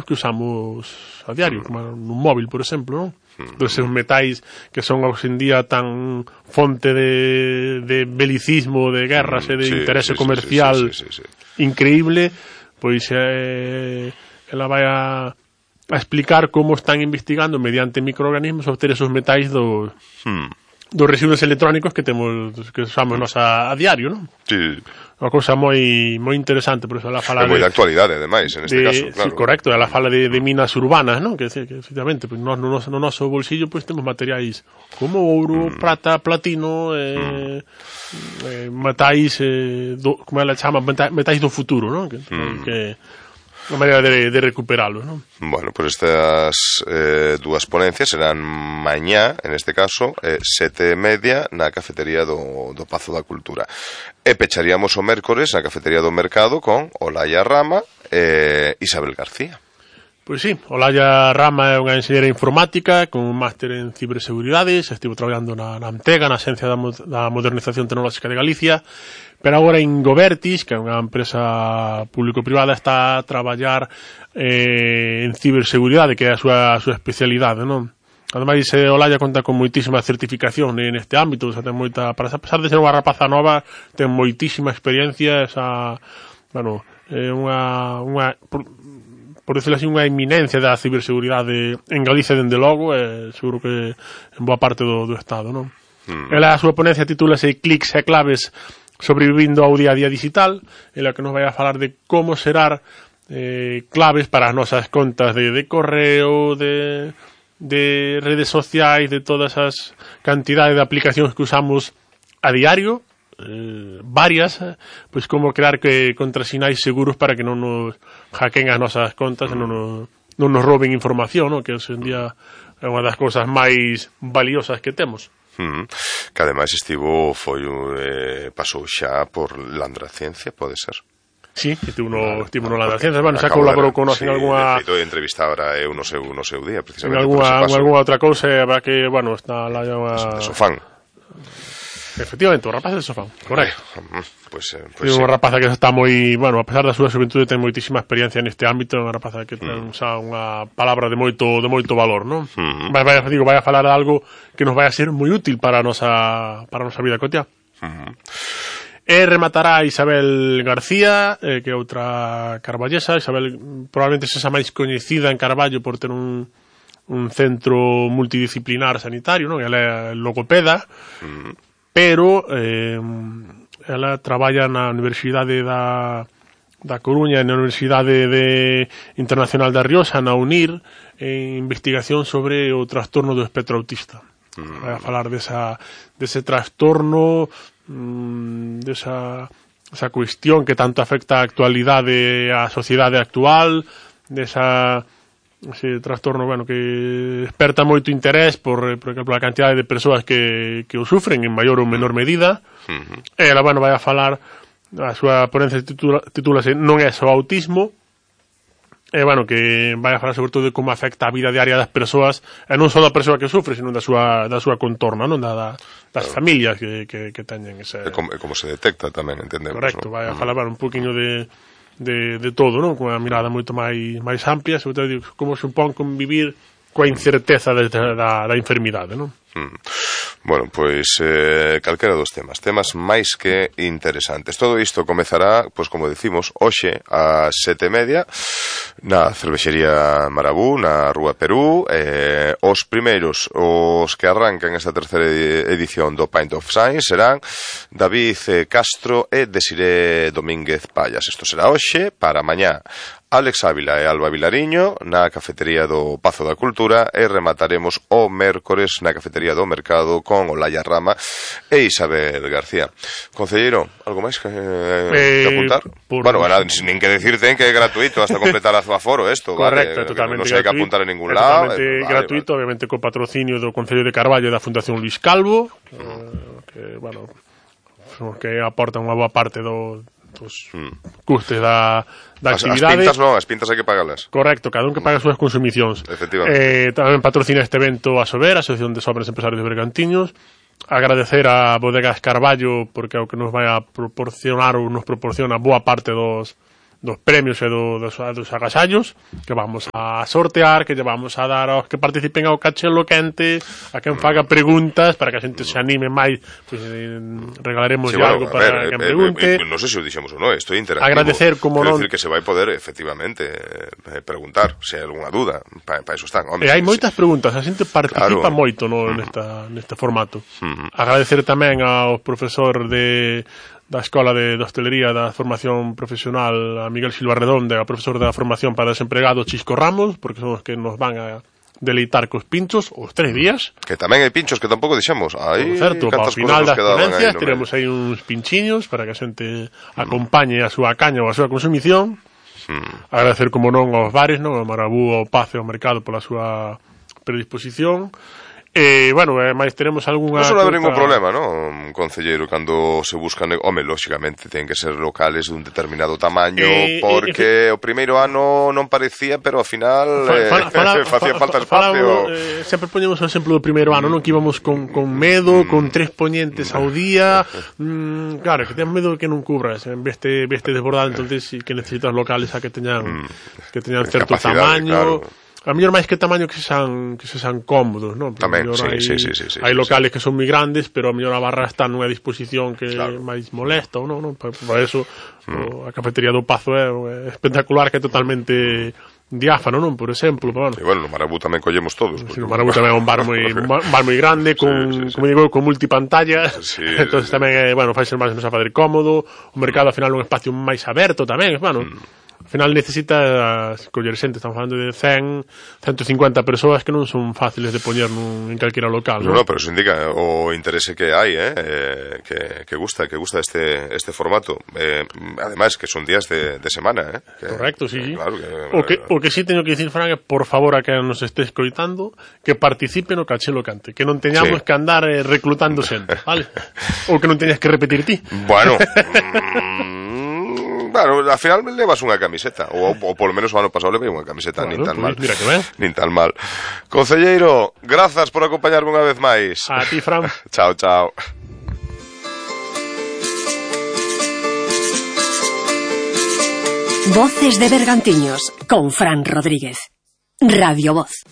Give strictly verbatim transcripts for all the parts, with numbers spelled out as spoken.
que usamos a diario, como nun móvil, por exemplo, non? Dos seus metais que son hoxe en día tan fonte de, de belicismo, de guerras e de sí, interese sí, comercial sí, sí, sí, sí, sí. increíble, pois eh, ela vai a, a explicar como están investigando mediante microorganismos obter esos metais do, hmm. dos residuos electrónicos que temos que usamos nos a, a diario, non? Sí. Unha cousa moi moi interesante, por eso ela fala é moi de, de actualidade, ademais, en este de, caso, claro. Sí, correcto, ela fala de, de minas urbanas, non? Que, que efectivamente, pues, no, no, no noso bolsillo pues, temos materiais como ouro, mm. prata, platino, eh, mm. eh, metais, eh, do, como ela chama, metais do futuro, non? Que, mm. que unha maneira de, de recuperalo, non? Bueno, pues estas eh, dúas ponencias serán mañá, en este caso, eh, sete e media na cafetería do, do Pazo da Cultura. E pecharíamos o mércores na cafetería do Mercado con Olaya Rama e eh, Isabel García. Pois sí, Olaya Rama é unha enxeñera informática con un máster en ciberseguridades, estivo traballando na, na Antega, na Axencia da, da Modernización Tecnolóxica de Galicia, pero agora en Govertis, que é unha empresa público-privada, está a traballar eh, en ciberseguridade, que é a súa, a súa especialidade, non? Ademais, eh, Olaya conta con moitísima certificación neste ámbito, o sea, ten moita, para a pesar de ser unha rapaza nova, ten moitísima experiencia, esa, bueno, é eh, unha, unha por, por decirlo así, unha eminencia da ciberseguridade en Galicia, dende logo, e eh, seguro que en boa parte do, do Estado, non? Mm. Ela, a súa ponencia titúlase Clics e claves sobrevivindo ao día a día digital, en la que nos vai a falar de como xerar eh, claves para as nosas contas de, de correo, de, de redes sociais, de todas as cantidades de aplicacións que usamos a diario, eh, varias, pois como crear que contrasinais seguros para que non nos hackeen as nosas contas e non nos, non nos roben información, ¿no? Que hoxe en día é unha das cousas máis valiosas que temos. Mm. Que ademais estivo foi eh, pasou xa por Landraciencia, pode ser? Sí, estivo no, estivo no Landraciencia, bueno, xa colaborou con nos sí, en alguna... Sí, de entrevista ahora eu no seu, no seu día, precisamente. En alguna, alguna outra cousa, habrá que, bueno, está lá unha... De Sofán. Efectivamente, o rapaz de Sofán, correcto. Pues, eh, é pues, unha rapaza que está moi, bueno, a pesar da súa xuventude ten moitísima experiencia neste ámbito, é unha rapaza que ten mm. xa unha palabra de moito de moito valor, non? Mm-hmm. Vai, vai, digo, vai a falar de algo que nos vai a ser moi útil para a nosa para a nosa vida cotiá. Mm-hmm. E rematará Isabel García, eh, que é outra carballesa. Isabel probablemente sexa máis coñecida en Carballo por ter un un centro multidisciplinar sanitario, non? Ela é logopeda. Mm. Pero eh, ela traballa na Universidade da, da Coruña e na Universidade de Internacional da Rioxa, na UNIR, en investigación sobre o trastorno do espectro autista. Mm. Vai a falar desa, dese trastorno, mmm, desa esa cuestión que tanto afecta a actualidade, a sociedade actual, desa... ese trastorno, bueno, que desperta moito interés por, por exemplo, a cantidade de persoas que, que o sufren en maior ou menor medida. Uh-huh. E ela, bueno, vai a falar, a súa ponencia titula, titúlase Non é só autismo, e, bueno, que vai a falar sobre todo de como afecta a vida diaria das persoas, e non só da persoa que sufre, sino da súa, da súa contorna, non? Da, da, das claro. familias que, que, que teñen ese... E como, como se detecta tamén, entendemos. Correcto, ¿no? vai a falar, bueno, un poquinho de... De, de todo, non? Con unha mirada moito máis máis amplia, sobre todo como supón convivir coa incerteza de, da, da enfermidade, non? Mm. Bueno, pois eh, calquera dos temas, temas máis que interesantes. Todo isto comezará, pois como decimos, hoxe a sete e media na cervexería Marabú, na Rúa Perú. Eh, os primeiros, os que arrancan esta terceira edición do Pint of Science serán David Castro e Desiré Domínguez Payas. Isto será hoxe, para mañá Alex Ávila e Alba Vilariño na cafetería do Pazo da Cultura, e remataremos o mércores na cafetería do Mercado con Olaya Rama e Isabel García. Concelleiro, algo máis que, eh, que apuntar? Por... Bueno, nada, nin que decirte que é gratuito hasta completar a aforo esto, correcto, vale? Totalmente non se hai que apuntar en ningún lado. Totalmente eh, gratuito, vale, obviamente con patrocinio do Concello de Carballo e da Fundación Luis Calvo, uh-huh. eh, que, bueno, que aportan unha boa parte do pues, mm. custes da, da as, actividade. As pintas non, as pintas hai que pagalas. Correcto, cada un que paga as súas consumicións. Efectivamente. Eh, tamén patrocina este evento a Sober, a Asociación de Sobres Empresarios de Bergantiños. Agradecer a Bodegas Carballo porque é o que nos vai a proporcionar ou nos proporciona boa parte dos dos premios e do, dos, dos agasallos que vamos a sortear, que lle vamos a dar aos que participen ao Cachelo Quente, a quen faga preguntas para que a xente se anime máis, pues, eh, regalaremos sí, bueno, algo para ver, quen pregunte. Eh, eh, non sei se o dixemos ou non, isto é interactivo. Agradecer como non. Quero dicir que se vai poder efectivamente eh, preguntar se hai algunha dúda, para pa iso están. Home, e hai moitas sí. preguntas, a xente participa claro. moito no, mm. nesta, neste formato. Mm. Agradecer tamén ao profesor de da Escola de, de Hostelería da Formación Profesional, a Miguel Silva Redonde, a profesor da Formación para Desempregados, Chisco Ramos, porque son os que nos van a deleitar cos pinchos os tres días. Que tamén hai pinchos que tampouco deixamos. Aí, certo, ao final das ponencias teremos aí uns pinchiños para que a xente acompañe a súa caña ou a súa consumición. Hmm. Agradecer, como non, aos bares, non? Ao Marabú, ao Pace, ao Mercado pola súa predisposición. E, bueno, eh, máis teremos algunha... Non non haber ningún problema, non, concelleiro, cando se buscan... Home, lóxicamente, ten que ser locales dun determinado tamaño, eh, porque eh, o primeiro ano non parecía, pero ao final eh, facía falta espacio. Eh, sempre poñemos o exemplo do primeiro ano, non? Que íbamos con, con medo, mm. con tres poñentes ao día, mm, claro, que ten medo que non cubras, en vez de, vez de desbordado, entonces sí que necesitas locales a que teñan, mm. que teñan certo tamaño... Claro. A mellor máis que tamaño que sexan que sexan cómodos, non? Tamén, sí, hai, sí, sí, sí, sí. Hai locales sí. que son moi grandes, pero a mellor a barra está nunha disposición que claro. máis molesta, ou non, non? Por, por eso mm. a cafetería do Pazo é, é espectacular, que é totalmente diáfano, non? Por exemplo, pero bueno. E bueno, no Marabú tamén collemos todos. Sí, no Marabú tamén é un bar moi un bar moi grande con, sí, sí, sí. como digo, con multipantalla. Sí, entonces sí, tamén é, bueno, fai ser máis menos a fazer cómodo. O mercado ao final é un espacio máis aberto tamén, bueno. Mm. Ao final necesita coller xente, estamos falando de cen, ciento cincuenta persoas que non son fáciles de poñer nun, en calquera local, non? No, no, pero eso indica o interese que hai, eh, eh que, que gusta, que gusta este este formato. Eh, ademais que son días de, de semana, eh. Que, correcto, sí. Que, claro, que, o que o que sí teño que dicir, Fran, é por favor a que nos este escoitando que participe no Cachelo Cante, que non teñamos sí. que andar eh, reclutando xente, vale? Ou que non teñas que repetir ti. Bueno, claro, al final levas unha camiseta, ou, ou polo menos o ano pasado levei unha camiseta, bueno, nin tan pues, mal. Mira que ben. Nin tan mal. Concelleiro, grazas por acompañarme unha vez máis. A ti, Fran. Chao, chao. Voces de Bergantiños, con Fran Rodríguez. Radio Voz.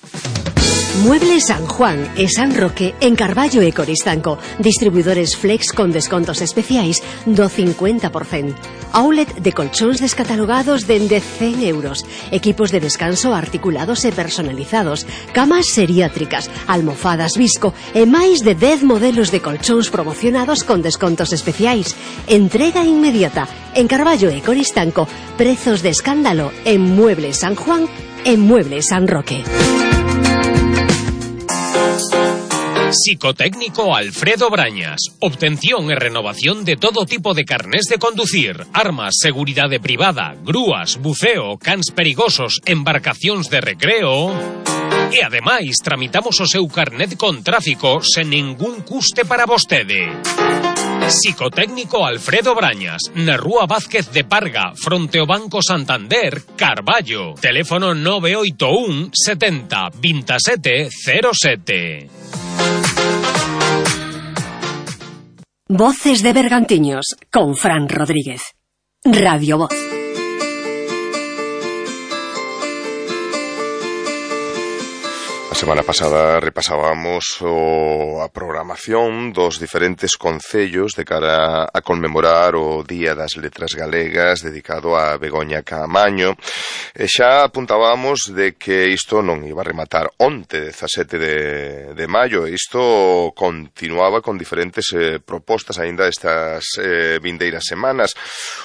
Muebles San Juan e San Roque en Carballo e Coristanco. Distribuidores Flex con descontos especiais do cincuenta por cento. Outlet de colchóns descatalogados dende cen euros. Equipos de descanso articulados e personalizados. Camas seriátricas, almofadas Visco e máis de dez modelos de colchóns promocionados con descontos especiais. Entrega inmediata en Carballo e Coristanco. Prezos de escándalo en Muebles San Juan e Muebles San Roque. Psicotécnico Alfredo Brañas. Obtención e renovación de todo tipo de carnés de conducir, armas, seguridade privada, grúas, buceo, cans perigosos, embarcacións de recreo. E ademais tramitamos o seu carnet con tráfico sen ningún custe para vostede. Psicotécnico Alfredo Brañas, na Rúa Vázquez de Parga, fronte ao Banco Santander, Carballo. Teléfono nove oito un setenta veintisiete cero sete. Voces de Bergantiños, con Fran Rodríguez. Radio Voz. A semana pasada repasábamos o, a programación dos diferentes concellos de cara a conmemorar o Día das Letras Galegas dedicado a Begoña Caamaño. E xa apuntábamos de que isto non iba a rematar onte, dezasete de, de maio. Isto continuaba con diferentes eh, propostas aínda estas eh, vindeiras semanas.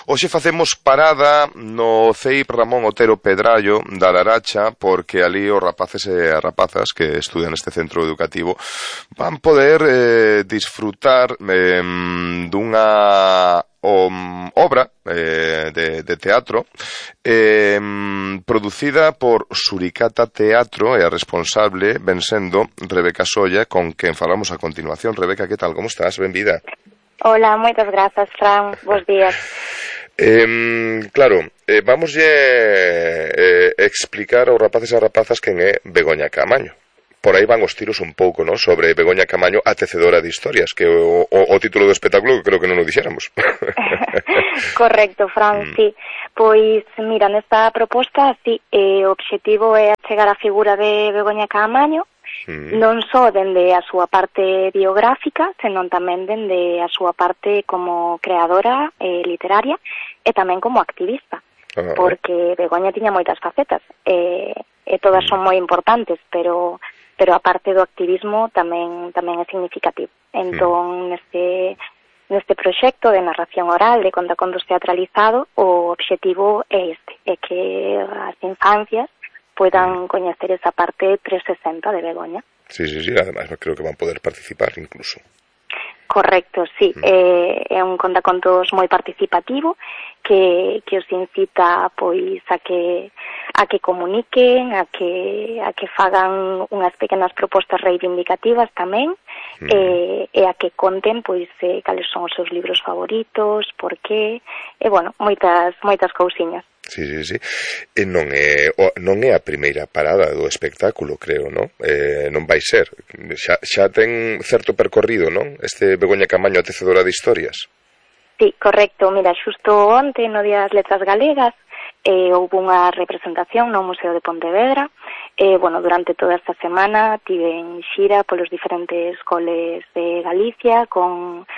Hoxe facemos parada no C E I P Ramón Otero Pedrallo da Laracha, porque ali os rapaces e as rapazas que estudian neste centro educativo van poder eh, disfrutar eh, dunha um, obra eh, de, de teatro eh, producida por Suricata Teatro, e a responsable ven sendo Rebeca Solla, con quen falamos a continuación. Rebeca, que tal? Como estás? Benvida. Hola, moitas grazas, Fran. Bos días. Eh, claro, eh, vamos a eh, explicar aos rapaces e rapazas quen é Begoña Caamaño, por aí van os tiros un pouco, non? Sobre Begoña Camaño, a tecedora de historias, que o, o, o título do espectáculo que creo que non o dixéramos. Correcto, Fran, mm. sí. Pois, mira, nesta proposta, sí, eh, o obxectivo é chegar a figura de Begoña Camaño, mm. non só dende a súa parte biográfica, senón tamén dende a súa parte como creadora eh, literaria e tamén como activista. Ah, porque Begoña tiña moitas facetas e, e todas son moi importantes, pero pero a parte do activismo tamén tamén é significativo. Entón, neste neste proxecto de narración oral de contacontos teatralizado, o obxectivo é este, é que as infancias poidan coñecer esa parte trescentos sesenta de Begoña. Sí, sí, sí, además creo que van poder participar incluso. Correcto, sí, mm. eh, é un contacontos moi participativo que, que os incita pois a que a que comuniquen, a que a que fagan unhas pequenas propostas reivindicativas tamén, mm. eh, e a que conten pois eh, cales son os seus libros favoritos, por qué, e bueno, moitas moitas cousiñas. Sí, sí, sí. E non é, non é a primeira parada do espectáculo, creo, non? Eh, non vai ser. Xa, xa ten certo percorrido, non? Este Begoña Camaño, a tecedora de historias. Sí, correcto. Mira, xusto onte, no Día das Letras Galegas, eh, houve unha representación no Museo de Pontevedra. Eh, bueno, durante toda esta semana tiven xira polos diferentes coles de Galicia con...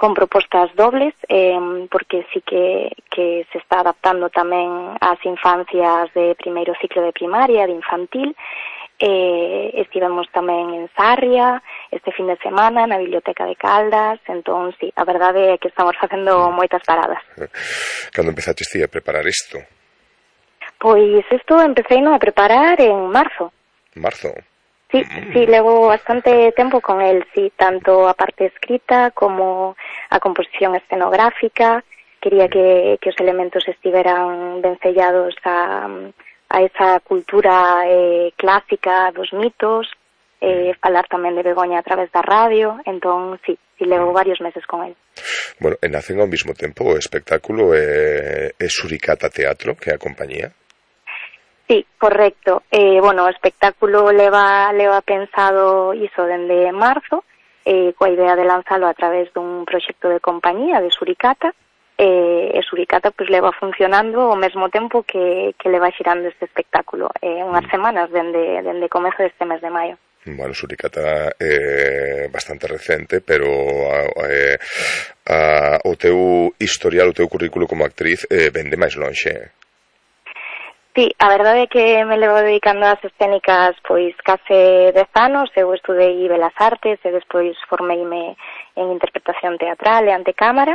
con propostas dobles, eh, porque sí que, que se está adaptando tamén ás infancias de primeiro ciclo de primaria, de infantil. Eh, estivemos tamén en Sarria este fin de semana, na Biblioteca de Caldas, entón, sí, a verdade é que estamos facendo moitas paradas. Cando empezaste ti a preparar isto? Pois isto empecé a preparar en marzo. Marzo? Sí, sí, levo bastante tempo con el, sí, tanto a parte escrita como a composición escenográfica. Quería que, que os elementos estiveran ben sellados a, a esa cultura eh, clásica dos mitos, eh, falar tamén de Begoña a través da radio, entón, sí, sí, levo varios meses con el. Bueno, e nacen ao mesmo tempo o espectáculo é, é Suricata Teatro, que é a compañía? Sí, correcto. Eh, bueno, o espectáculo leva, leva pensado iso dende marzo, eh, coa idea de lanzalo a través dun proxecto de compañía de Suricata, eh, e Suricata pues, leva funcionando ao mesmo tempo que, que leva xirando este espectáculo, eh, unhas semanas dende, dende comezo deste mes de maio. Bueno, Suricata é bastante recente, pero eh, a, o teu historial, o teu currículo como actriz eh, vende máis lonxe. Sí, a verdade é que me levo dedicando ás escénicas pois case dez anos. Eu estudei Belas Artes e despois formeime en interpretación teatral e ante cámara.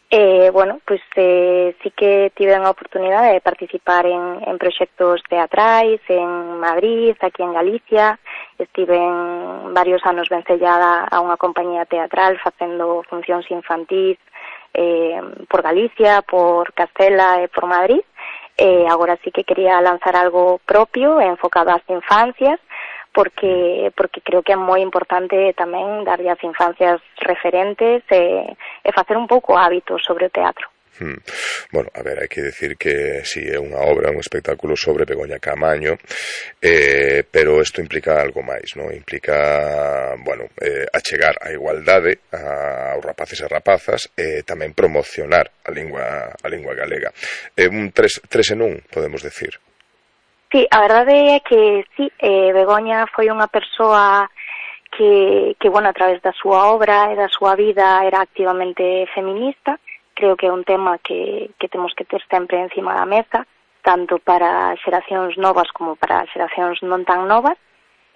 E, bueno, pois eh, sí que tive a oportunidade de participar en, en proxectos teatrais en Madrid, aquí en Galicia. Estive en varios anos vencellada a unha compañía teatral facendo funcións infantís eh, por Galicia, por Castela e por Madrid. Eh, agora sí que quería lanzar algo propio enfocado ás infancias, porque porque creo que é moi importante tamén darlle ás infancias referentes e, e facer un pouco hábitos sobre o teatro. Hmm. Bueno, a ver, hai que decir que si sí, é unha obra, un espectáculo sobre Begoña Camaño, eh, pero isto implica algo máis, non? Implica, bueno, eh, achegar a igualdade a, aos rapaces e rapazas e tamén promocionar a lingua a lingua galega. É eh, un tres, tres en un, podemos decir. Sí, a verdade é que sí, eh, Begoña foi unha persoa que, que, bueno, a través da súa obra e da súa vida era activamente feminista. Creo que é un tema que, que temos que ter sempre encima da mesa, tanto para xeracións novas como para xeracións non tan novas,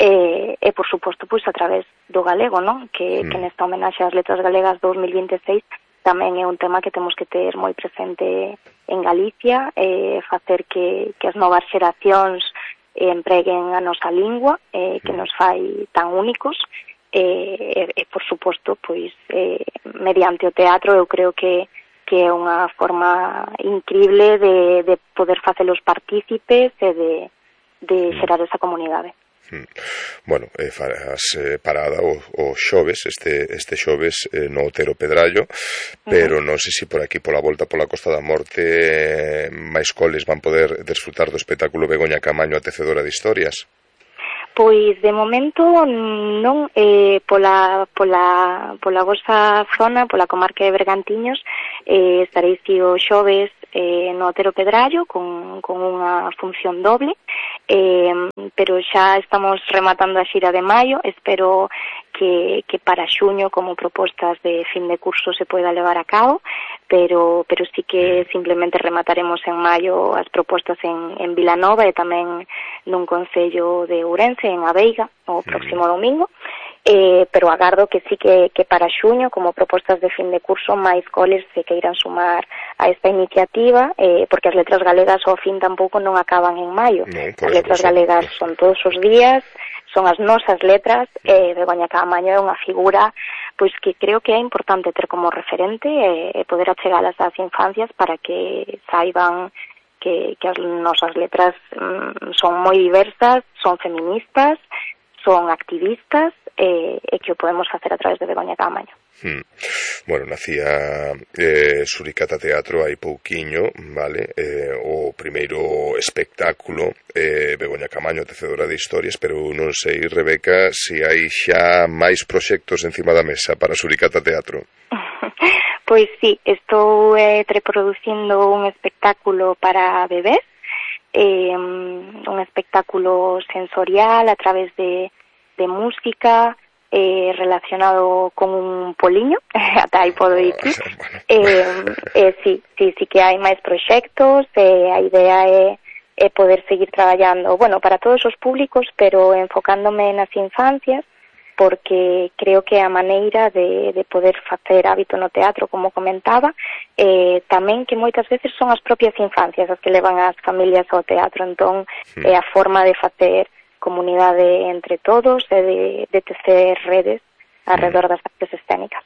e, e por suposto, pois, a través do galego, non? Que, mm. que nesta homenaxe ás letras galegas dos mil vinte e seis tamén é un tema que temos que ter moi presente en Galicia, e facer que, que as novas xeracións empreguen a nosa lingua, eh, que nos fai tan únicos, e, e por suposto, pois, eh, mediante o teatro, eu creo que que é unha forma increíble de, de poder facelos partícipes e de, de xerar esa comunidade. Bueno, eh, farás eh, parada o, o xoves, este, este xoves eh, no Otero Pedrallo, pero non sei se por aquí, pola volta pola Costa da Morte, eh, máis coles van poder desfrutar do espectáculo Begoña Camaño, a tecedora de historias. Pois de momento non, eh, pola, pola, pola vosa zona, pola comarca de Bergantiños, eh, estaréis o xoves eh, no Otero Pedrallo con, con unha función doble, eh, pero xa estamos rematando a xira de maio. Espero que, que para xuño como propostas de fin de curso se poida levar a cabo, pero, pero sí que simplemente remataremos en maio as propostas en, en Vilanova e tamén nun concello de Ourense, en Aveiga, o próximo domingo, eh, pero agardo que sí que, que para xuño, como propostas de fin de curso, máis coles se queiran sumar a esta iniciativa, eh, porque as letras galegas ao fin tampouco non acaban en maio. No, as letras galegas son todos os días, son as nosas letras, e eh, Begoña Caamaño é unha figura pois que creo que é importante ter como referente e eh, poder achegalas ás infancias para que saiban que, que as nosas letras mm, son moi diversas, son feministas, son activistas, e, e que o podemos facer a través de Begoña Caamaño. Hmm. Bueno, nacía eh, Suricata Teatro hai pouquiño, vale, eh, o primeiro espectáculo, eh, Begoña Caamaño, tecedora de historias, pero non sei, Rebeca, se hai xa máis proxectos encima da mesa para Suricata Teatro. Pois sí, estou eh, preproducindo un espectáculo para bebés, eh, un espectáculo sensorial a través de, de música, eh, relacionado con un poliño, ata aí podo ir. eh, eh, sí, sí, sí que hai máis proxectos, eh, a idea é, é poder seguir traballando, bueno, para todos os públicos, pero enfocándome nas infancias, porque creo que a maneira de, de poder facer hábito no teatro, como comentaba, eh, tamén que moitas veces son as propias infancias as que levan as familias ao teatro, entón é eh, a forma de facer comunidade entre todos e de, de tecer redes alrededor das artes escénicas.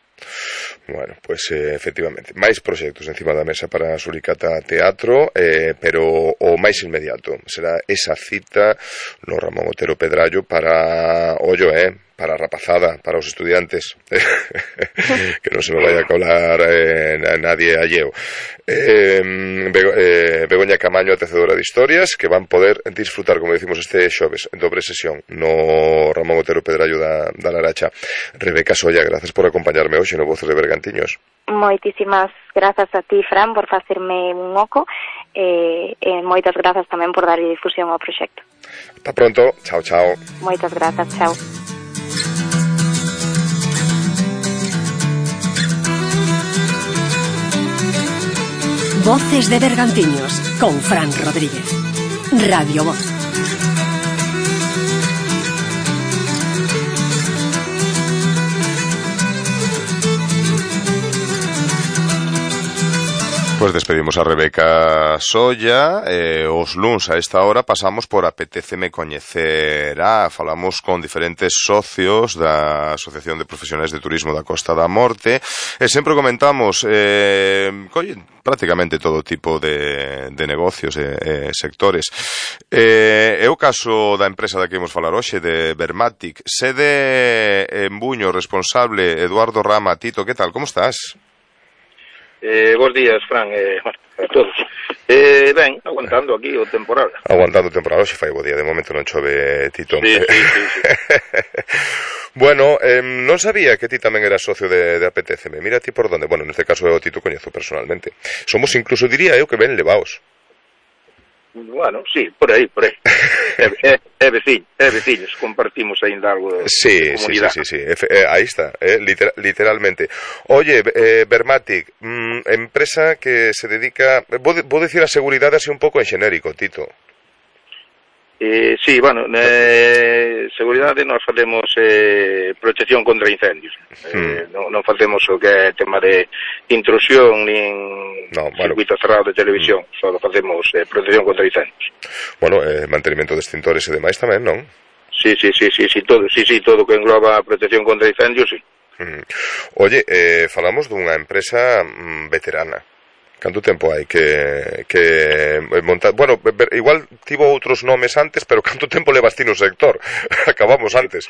Bueno, pues eh, efectivamente, máis proxectos encima da mesa para Suricata Teatro, eh, pero o máis inmediato será esa cita no Ramón Otero Pedrallo para, ollo, eh, para a rapazada, para os estudiantes, que non se me vaya a colar eh, a nadie alleo. Eh, Bego, eh, Begoña Caamaño, a tecedora de historias, que van poder disfrutar, como decimos, este xoves, en dobre sesión, no Ramón Otero Pedrallo da, da Laracha. Rebeca Solla, gracias por acompañarme hoxe no Voces de Bergantiños. Moitísimas grazas a ti, Fran, por facerme un oco, e, e moitas grazas tamén por dar difusión ao proxecto. Ata pronto, chao, chao. Moitas grazas, chao. Voces de Bergantiños con Fran Rodríguez. Radio Voz. Pues despedimos a Rebeca Solla. eh, os luns a esta hora pasamos por Apetéceme Coñecer a, falamos con diferentes socios da Asociación de Profesionais de Turismo da Costa da Morte e sempre comentamos eh, colle, prácticamente todo tipo de, de negocios e, e sectores. Eh, é o caso da empresa da que imos falar hoxe, de Vermatic, sede en Buño, responsable Eduardo Rama. Tito, que tal, como estás? Eh, bons días, Fran, eh, bueno, a todos. Eh, ben, aguantando aquí o temporal. Aguantando o temporal, hoxe fai bo día, de momento non chove, Tito. Sí, sí, sí, sí. Bueno, eh, non sabía que ti tamén eras socio de, de Apetéceme. Mira ti por donde, bueno, neste caso eu Tito coñezo personalmente. Somos incluso, diría eu, que ben levaos. Bueno, sí, por aí, por aí. É, é, é veciño, é veciños, compartimos ainda algo de sí, comunidade. Sí, sí, sí, sí, eh, aí está, eh, literal, literalmente. Oye, eh, Vermatic, mm, empresa que se dedica, vou, vou decir a seguridade así un pouco en xenérico, Tito. Eh, sí, bueno, eh, seguridade nós facemos eh, protección contra incendios. Eh, hmm. non, non facemos o que é tema de intrusión nin no, bueno. circuito cerrado de televisión, hmm. só facemos eh, protección contra incendios. Bueno, eh, mantenimento de extintores e demais tamén, non? Sí, sí, sí, sí, sí, todo, sí, sí, todo que engloba a protección contra incendios, sí. Hmm. Oye, eh, falamos dunha empresa mm, veterana. Canto tempo hai que, que montar... Bueno, igual tivo outros nomes antes, pero canto tempo levas ti no sector? Acabamos antes.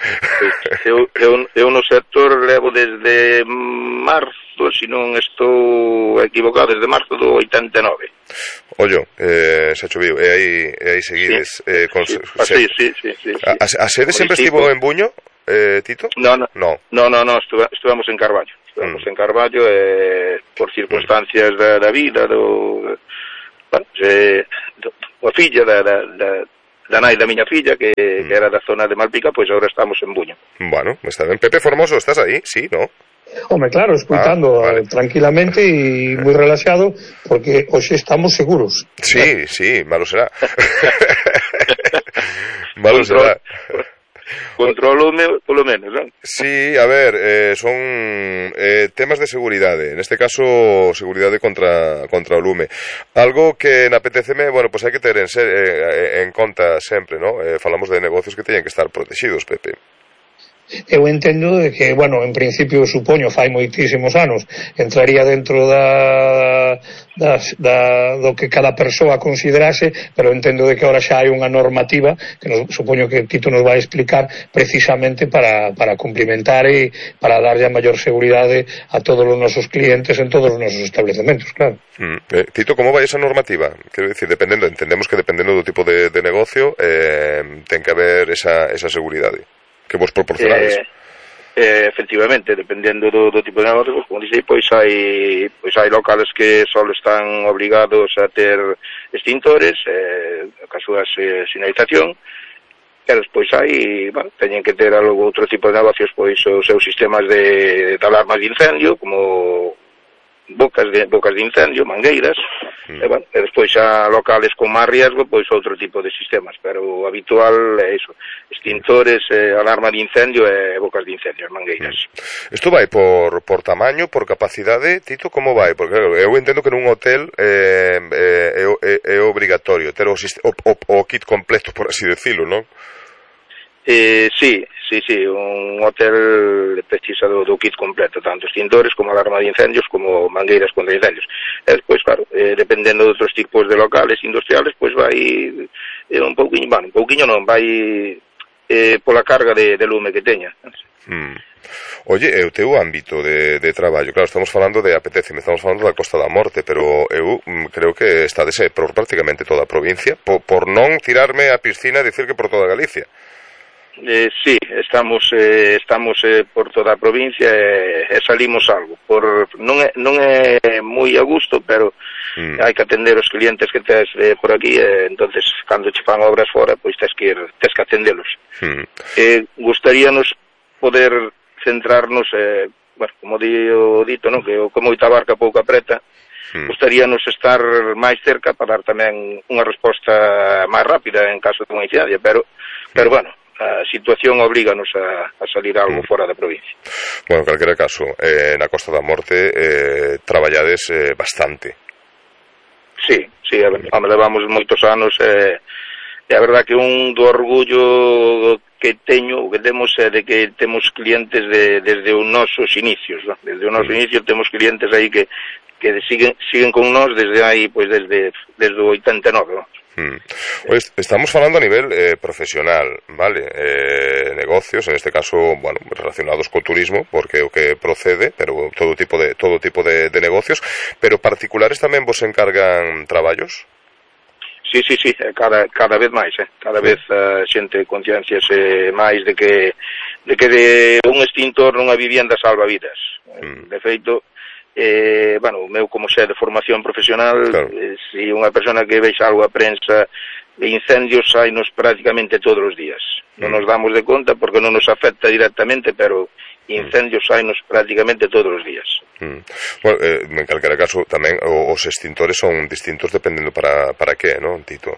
Eu, eu, eu no sector levo desde marzo, se non estou equivocado, desde marzo do oitenta e nove. Ollo, eh, xa choviu, e aí, e aí seguides. Sí, eh, con, sí, se, sí, sí, sí, sí, sí. A, a sede sempre estivo en Buño, eh, Tito? No, no, no, no, no, no estuve, estuvamos en Carballo. Estamos mm. en Carballo eh, por circunstancias mm. da, da vida do, bueno, eh, do, a filla da, da, da, da nai da miña filla que, mm. que era da zona de Malpica, pois agora estamos en Buño. Bueno, está ben. Pepe Formoso, estás aí? Sí, ¿no? Home, claro, escuitando ah, vale. tranquilamente e moi relaxado, porque hoxe estamos seguros. Sí, sí, malo será. Malo será. Controlo polo menos, non? Sí, a ver, eh, son eh, temas de seguridade, neste caso seguridade contra contra o lume. Algo que na P T C M, bueno, pois pues hai que ter en, ser, eh, en conta sempre, ¿no? Eh, falamos de negocios que teñen que estar protegidos, Pepe. Eu entendo de que, bueno, en principio supoño fai moitísimos anos entraría dentro da, da, da do que cada persoa considerase, pero entendo de que ahora xa hai unha normativa que nos, supoño que Tito nos vai explicar precisamente para, para cumplimentar e para darlle a maior seguridade a todos os nosos clientes en todos os nosos establecementos, claro. Mm. Eh, Tito, como vai esa normativa? Quero dicir, dependendo, entendemos que dependendo do tipo de, de negocio eh, ten que haber esa, esa seguridade que vos proporcionades. Eh, eh, efectivamente, dependendo do, do tipo de negocio, pues, como dixei, pois hai pois hai locales que só están obrigados a ter extintores, eh, ca súa eh, sinalización, e despois hai, bueno, teñen que ter algo outro tipo de negocios, pois os seus sistemas de, de alarmas de incendio, como bocas de bocas de incendio, mangueiras, mm. e, bueno, e despois xa locales con máis riesgo, pois outro tipo de sistemas, pero o habitual é iso, extintores, eh, alarma de incendio e bocas de incendio, mangueiras. Mm. Isto vai por, por tamaño, por capacidade, Tito, como vai? Porque claro, eu entendo que nun hotel eh, eh, é, é, é obrigatorio ter o, o, o, o kit completo, por así decirlo, non? Eh, sí, sí, sí, un hotel precisa do, do kit completo, tanto extintores como alarma de incendios como mangueiras contra incendios. E despois, claro, eh, dependendo de outros tipos de locales industriales, pois vai eh, un pouquiño, bueno, un pouquiño non, vai eh, pola carga de, de lume que teña. Hmm. Oye, e o teu ámbito de, de traballo, claro, estamos falando de A P T C, estamos falando da Costa da Morte, pero eu mm, creo que está de ser por prácticamente toda a provincia, por, por non tirarme a piscina e dicir que por toda Galicia. Eh, sí, estamos eh, estamos eh, por toda a provincia e eh, eh, salimos algo. Por non é non é moi a gusto, pero mm. hai que atender os clientes que tes eh, por aquí, e eh, entonces cando che fan obras fora, pois tes que ir, tes que atendelos. Mm. Eh, gustaríanos poder centrarnos, eh, bueno, como di o dito, non, que o que moita barca pouca preta. Mm. Gustaríanos estar máis cerca para dar tamén unha resposta máis rápida en caso de unha incidencia, pero pero bueno, a situación oblíganos a, a salir algo mm. fora da provincia. Bueno, en calquera caso, eh, na Costa da Morte eh, traballades eh, bastante. Sí, sí, a, a, levamos moitos anos e eh, a verdad que un do orgullo que teño, que temos é de que temos clientes de, desde os nosos inicios, ¿no? Desde os nosos mm. inicios temos clientes aí que que siguen siguen con nós desde aí, pois desde desde o oitenta e nove, ¿no? Hmm. Pues estamos falando a nivel eh, profesional, vale, eh, negocios, en este caso, bueno, relacionados co turismo, porque é o que procede, pero todo tipo de todo tipo de, de negocios, pero particulares tamén vos encargan traballos? Sí, sí, sí, cada cada vez máis, eh. Cada vez a uh, xente concienciase máis de que de que de un extintor nunha vivienda salva vidas. Hmm. De feito, Eh, bueno, o meu como xe de formación profesional, claro. eh, si unha persona que vexa algo a prensa de incendios sainos prácticamente todos os días. Mm. Non nos damos de conta porque non nos afecta directamente, pero incendios mm. sainos prácticamente todos os días. Mm. Bueno, eh, en calquera caso tamén os extintores son distintos dependendo para, para que, non, Tito?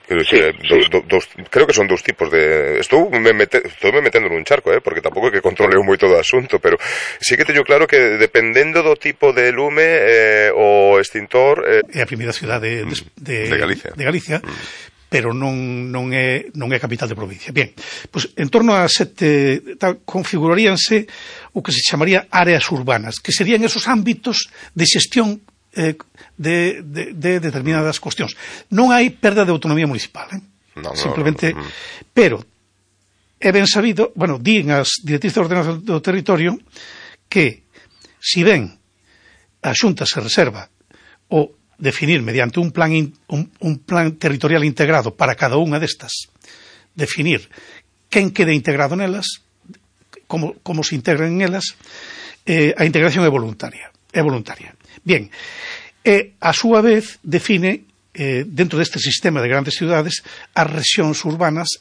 Creo, sí, que, sí. Do, do, dos, creo que son dous tipos de... Estou me, mete, estou me metendo nun charco, eh, porque tampouco é que controle moito do asunto, pero sí que teño claro que dependendo do tipo de lume eh, o extintor... Eh... É a primeira cidade de, de, de Galicia, de Galicia mm. pero non, non, é, non é capital de provincia. Bien, pois en torno a sete tal, configuraríanse o que se chamaría áreas urbanas, que serían esos ámbitos de xestión eh, de, de, de determinadas cuestións. Non hai perda de autonomía municipal, eh? No, no, simplemente, no, no, no. Pero é ben sabido, bueno, din as directrices de ordenación do territorio que, si ben a Xunta se reserva o definir mediante un plan, in, un, un plan territorial integrado para cada unha destas, definir quen quede integrado nelas, como, como se integran en elas, eh, a integración é voluntaria. É voluntaria. Bien, e a súa vez define, eh, dentro deste sistema de grandes ciudades, as rexións urbanas